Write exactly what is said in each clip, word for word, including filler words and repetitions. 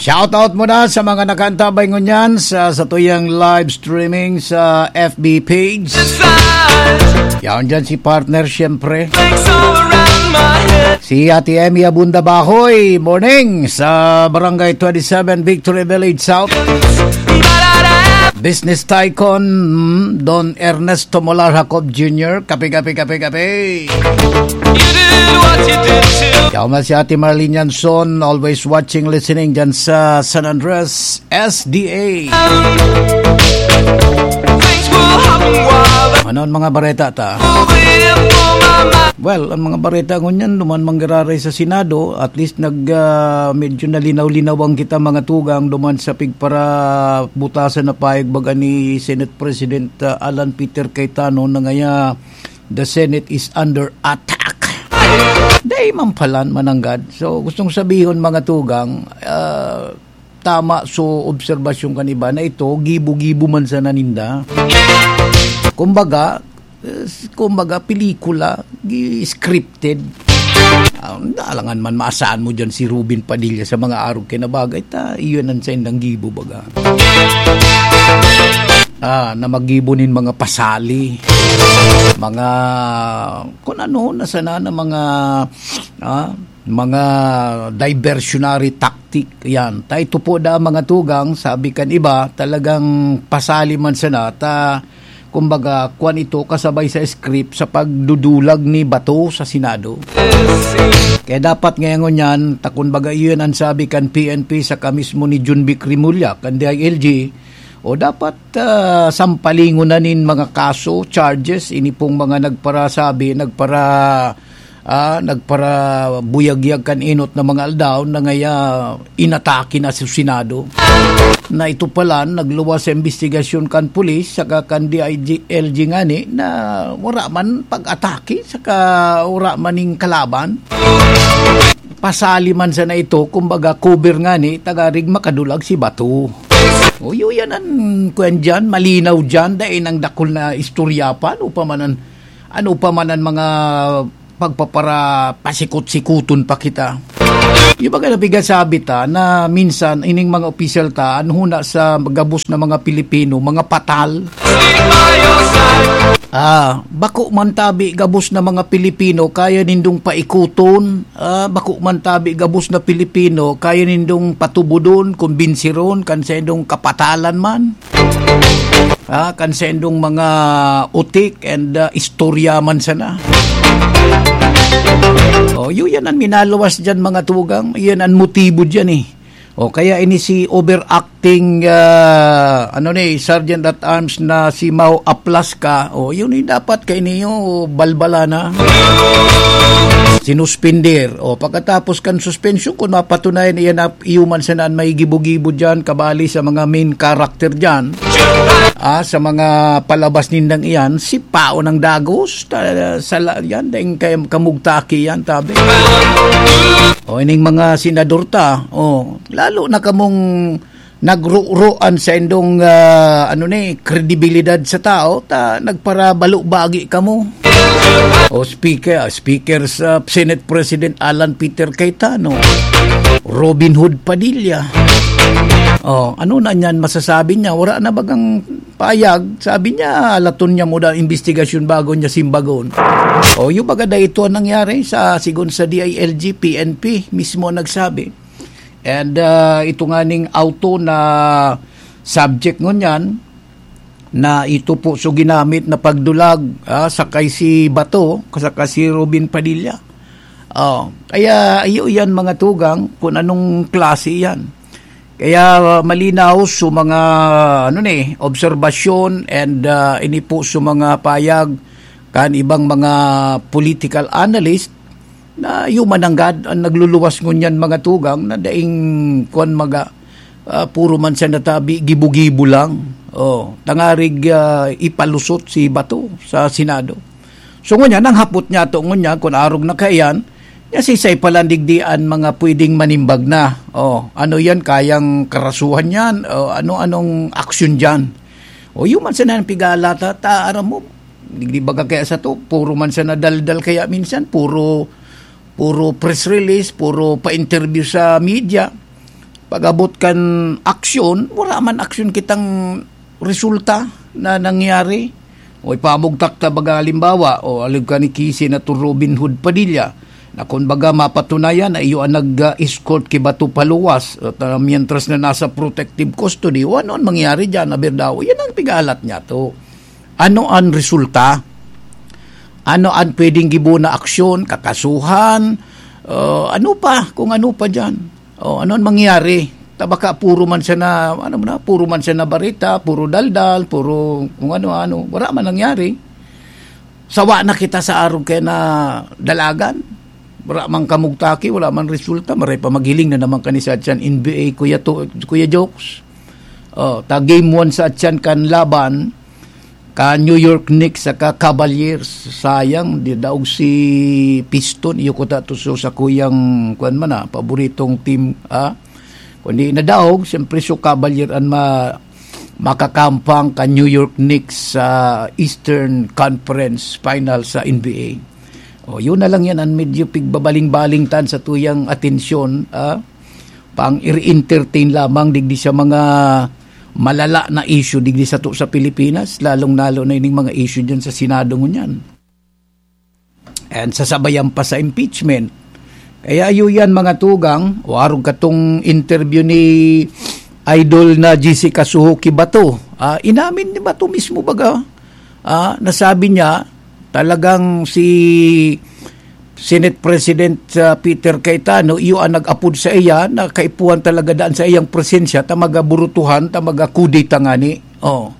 Shout out muna sa mga nakaantabay ngunyan sa satuyang live streaming sa F B page. Yaon dyan si partner, syempre. Si Ate Emmy Abunda Bahoy, morning, sa Barangay twenty-seven, Victory Village South. Business tycoon, mm, Don Ernesto Molar Jacob Junior. Kape, kape, kape, kape. Yaon man si Ate Marlene Yanson, always watching, listening dyan sa San Andres, S D A. Ano ang mga bareta ta? Well, ang mga bareta ngunyan, duman manggiraray sa Senado, at least nag, ah, medyo nalinaw-linawan kita, mga tugang, duman sa pigparabutasan na payag baga ni Senate President, ah, Alan Peter Cayetano na ngaya, "The Senate is under attack." Dai man palan mananggad. So, gustong sabihon, mga tugang, ah, tama so obserbasyon kan iba na ito, gibo-gibo man sana ninda. Kumbaga, eh, kumbaga, pelikula, gi-, scripted. Ah, alangan man, maasaan mo dyan si Robin Padilla sa mga arog kay na bagay, ta, iyon ang saindang gibo, baga. Ah, na maggibo nin mga pasali, mga, kung ano, na sana na mga, ah, mga diversionary tactic, yan. Ta ito po da, mga tugang, sabi kan iba, talagang pasali man sana, ta, kumbaga, kwan ito kasabay sa script sa pagdudulag ni Bato sa Senado. Kaya dapat ngayon yan, ta, kumbaga, iyon ang sabi kan P N P saka mismo ni Jun Vic Remulla, kan D I L G, o dapat, ah, sampalingon na nin mga kaso, charges, ini pong mga nagparasabi, nagpara-, ah, nagparabuyagyag kan enot na mga aldaw na ngaya inatake na sa Senado. Na ito pala, nagluwas sa imbestigasyon kan pulis saka kan D I L G ngani na wala man pag-atake saka wala man ning kalaban. Pasali man sana ito, kumbaga, cover ngani, ta nganing makadulag si Bato. O, yun yan ang kwan dyan, malinaw dyan, dahil ang dakul na istorya pa, ano pa man ang, ano pa man ang mga pagpapara-, pasikot-sikuton pa kita. Yung baga napigasabi ta na minsan, ining mga opisyal ta, ano huna sa gabos na mga Pilipino, mga patal. Ah, bako man tabi gabos na mga Pilipino, kaya nindong paikuton. Ah, bako man tabi gabos na Pilipino, kaya nindong patubodon, kumbinsiron, kan saindong kapatalan man. Ah, kan saindong mga utik and, ah, istorya man sana. Oh, yun yan ang minaluwas dyan, mga tugang. Yan ang motibo dyan, eh. O kaya ini si overacting, ah, ano ni, Sergeant at Arms na si Mao Aplaska. O, yun yung dapat kay niyo, balbala na. Sinuspender. O, pagkatapos kan suspension, kung mapatunayan iyan na iyo man sana an may gibo-gibo dyan, kabali sa mga main character dyan, ah, sa mga palabas nindang iyan, si Pao ng Dagos, ta-, sa la-, yan, daing kay kamugtaki yan, tabi. O, ining mga senador ta, o, lalo na kamong nagruroan sa indong, ah, ano ni, kredibilidad sa tao, ta nagparabalo-bagi kamo. O speaker, ah, speaker sa Senate President Alan Peter Cayetano, Robin Hood Padilla. O, ano na niyan masasabi niya? Wala na bagang payag? Sabi niya, alaton niya muna ang investigasyon bago niya simbagon. O, yung baga na ito ang nangyari sa, sigon sa D I L G, P N P mismo ang nagsabi. And, ah, ito nga ning auto na subject ngunyan, na ito po so ginamit na pagdulag, ah, sakay si Bato, saka si Robin Padilla. Oh, kaya iyo yan, mga tugang, kung anong klase yan. Kaya, ah, malinaw so mga, ano ni, obserbasyon and, ah, ini po so mga payag kan ibang mga political analyst na iyo mananggad ang nagluluwas ngunyan, mga tugang, na daing kwan maga, ah, puro man siya natabi, gibo-gibo lang. Oh, tangarig, ah, ipalusot si Bato sa Senado. So, ngunyan, ang hapot niya to, ngunyan, kung arog na kaiyan, niya sisay palandigdi an mga pwedeng manimbag na. Oh, ano yan, kayang karasuhan yan? O ano, anong aksyon dyan? O, yun man sana ang pigalata, ta, aram mo, di, di baga kaya sa to, puro man sana daldal kaya minsan, puro, puro press release, puro pa-interview sa media. pag-abot kan aksyon, wala man aksyon kitang resulta na nangyari. O ipamugtak ta baga halimbawa, o alib ka ni ki Senator Robin Hood Padilla, na kun baga mapatunayan na iyo ang nag-escort ki Bato paluwas, at, ah, mientras na nasa protective custody, o ano ang mangyari diyan, aber daw? Yan ang pigalat niya to. Ano ang resulta? Ano ang pwedeng gibo na aksyon, kakasuhan, ah, ano pa, kung ano pa diyan? O, ano ang mangyari? Ta baka puro man siya na, ano mo na, puro man siya na bareta, puro daldal, puro kung ano-ano. Wala man nangyari. Sawa na kita sa arog kaya na dalagan. Wala man kamugtaki, wala man resulta. Maray pa maghiling na naman kani sa atyan N B A, Kuya, to, Kuya Jokes. O, ta game one sa atyan kan laban, ka New York Knicks saka Cavaliers. Sayang, di daog si Piston. Iyo ko ta to so sa kuyang, kuwan man na, paboritong team, ah. Kundi nadaog, siyempre, so Cavalier ang ma-, makakampang ka New York Knicks sa Eastern Conference Final sa N B A. O, yun na lang yan ang medyo pigbabaling-baling tan sa tuyang atensyon, ah. Pang i-entertain lamang digdi sa mga malala na issue digdi sato sa Pilipinas, lalong-lalo na ining mga issue dyan sa Senado ngunyan. And sasabayan pa sa impeachment. Kaya iyo yan, mga tugang, o arog katong interview ni Idol na G C Kasuho ki Bato. Ah, inamin ni Bato mismo baga, ah, nasabi niya, talagang si Senate President, ah, Peter Cayetano, iyo ang nag-apod sa iya na kaipuhan talaga daan sa iyang presensya, ta magaburutuhan, ta magakudeta ngani. Oh.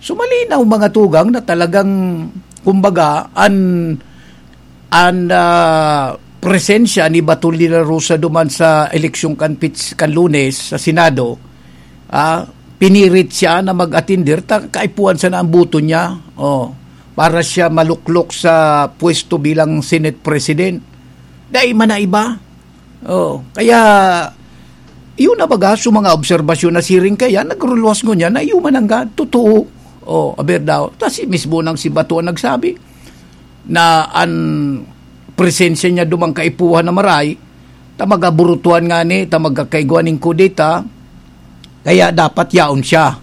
So, malinaw, mga tugang, na talagang, kumbaga, an, an, ah, presensya ni Bato de la Rosa duman sa eleksyon kan Pits-, kan Lunes sa Senado, ah, pinirit siya na mag-atinder, ta kaipuhan sana ang boto niya, oh, para siya maluklok sa pwesto bilang Senate President. Dai man na iba. Oh, kaya, yun na baga, so mga obserbasyon na siring kaya, nagruluwas ngunyan na iyo man ang ga-, totoo. Oh, aber daw. Tas si mismo nang si Bato ang nagsabi na an presensya niya dumang kaipuhan na maray, ta magaburutuhan ngani, ta magkakaigwa ning kudeta, kaya dapat yaon siya.